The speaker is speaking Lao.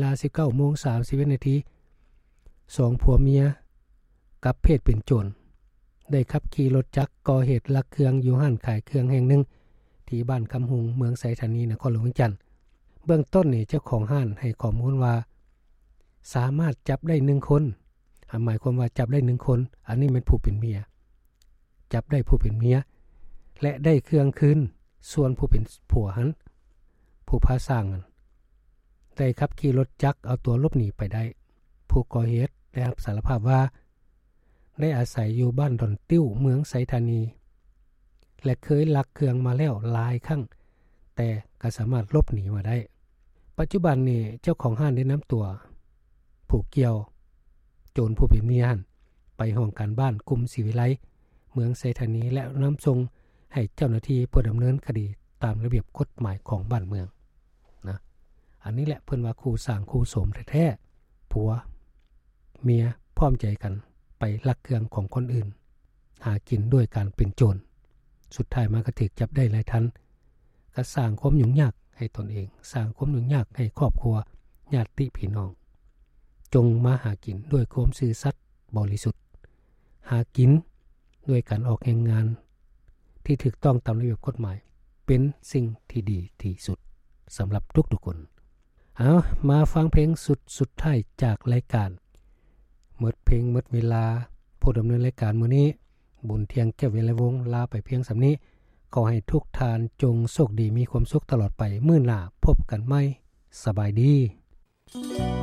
ລາສິບເກົ້າໂມງສາມສິບເອັດນາທີ ສອງຜົວເມຍກັບເພດເປັນໂຈນ ໄດ້ຂັບຂີ່ລົດຈັກກໍ່ເຫດລັກເຄື່ອງຢູ່ຮ້ານຂາຍເຄື່ອງແຫ່ງໜຶ່ງ ທີ່ບ້ານຄຳຮຸງ ເມືອງໄຊທານີ ນະຄອນຫຼວງວຽງຈັນ. ເບື້ອງຕົ້ນນີ້ ເຈົ້າຂອງຮ້ານໃຫ້ຂໍ້ມູນວ່າ ສາມາດຈັບໄດ້ໜຶ່ງຄົນ ໝາຍຄວາມວ່າຈັບໄດ້ໜຶ່ງຄົນ, ອັນນີ້ແມ່ນຜູ້ເປັນເມຍ, ຈັບໄດ້ຜູ້ເປັນເມຍ ແລະ ໄດ້ເຄື່ອງຄືນ. ສ່ວນຜູ້ເປັນຜົວຫັ້ນ ຜູ້ພາຊ່າງຫັ້ນ ໄດ້ຂັບຂີ່ລົດຈັກເອົາຕົວຫຼົບໜີໄປໄດ້. ຜູ້ກໍ່ເຫດໄດ້ຮັບສາລະພາບວ່າ ໄດ້ອາໄສຢູ່ບ້ານດອນຕິ້ວ ເມືອງໄຊທານີ ແລະ ເຄີຍລັກເຄື່ອງມາແລ້ວຫຼາຍຄັ້ງ, ແຕ່ກໍສາມາດຫຼົບໜີມາໄດ້. ປັດຈຸບັນນີ້ ເຈົ້າຂອງຮ້ານໄດ້ນຳຕົວຜູ້ກ່ຽວໂຈນຜູ້ເປັນເມຍຫັ້ນ ໄປຫ້ອງການບ້ານກຸ່ມສີວິໄລ ເມືອງໄຊທານີ ແລະ ນຳສົ່ງໃຫ້ເຈົ້າໜ້າທີ່ເພື່ອດຳເນີນຄະດີຕາມລະບຽບກົດໝາຍຂອງບ້ານເມືອງນະ. ອັນນີ້ແຫຼະເພິ່ນວ່າຄູ່ສ້າງຄູ່ໂສມແທ້ໆ, ຜົວເມຍພ້ອມໃຈກັນໄປລັກເຄື່ອງຂອງຄົນອື່ນ, ຫາກິນດ້ວຍການເປັນໂຈນ, ສຸດທ້າຍມາກໍຖືກຈັບໄດ້ຫຼາຍທ່ານ, ກໍສ້າງຄວາມຫຍຸ້ງຍາກໃຫ້ຕົນເອງ, ສ້າງຄວາມຫຍຸ້ງຍາກໃຫ້ຄອບຄົວ, ຍາດຕິພີ່ນ້ອງ. ຈົ່ງມາຫາກິນດ້ວຍຄວາມຊື່ສັດບໍລິສຸດ, ຫາກິນດ້ວຍການອອກແຮງງານທີ່ຖືກຕ້ອງຕາມລະບຽບກົດໝາຍ ເປັນສິ່ງທີ່ດີທີ່ສຸດສຳລັບທຸກໆຄົນ. ເອົາ ມາຟັງເພງຊຸດສຸດທ້າຍຈາກລາຍການ. ໝົດເພງໝົດເວລາ, ຜູ້ດຳເນີນລາຍການມື້ນີ້ ບຸນທຽງ ແກ້ວວິໄລວົງ ລາໄປພຽງສ່ຳນີ້. ຂໍໃຫ້ທຸກທ່ານຈົ່ງໂຊກດີມີຄວາມສຸກຕະຫຼອດໄປ. ມື້ໜ້າພົບກັນໃໝ່. ສະບາຍດີ.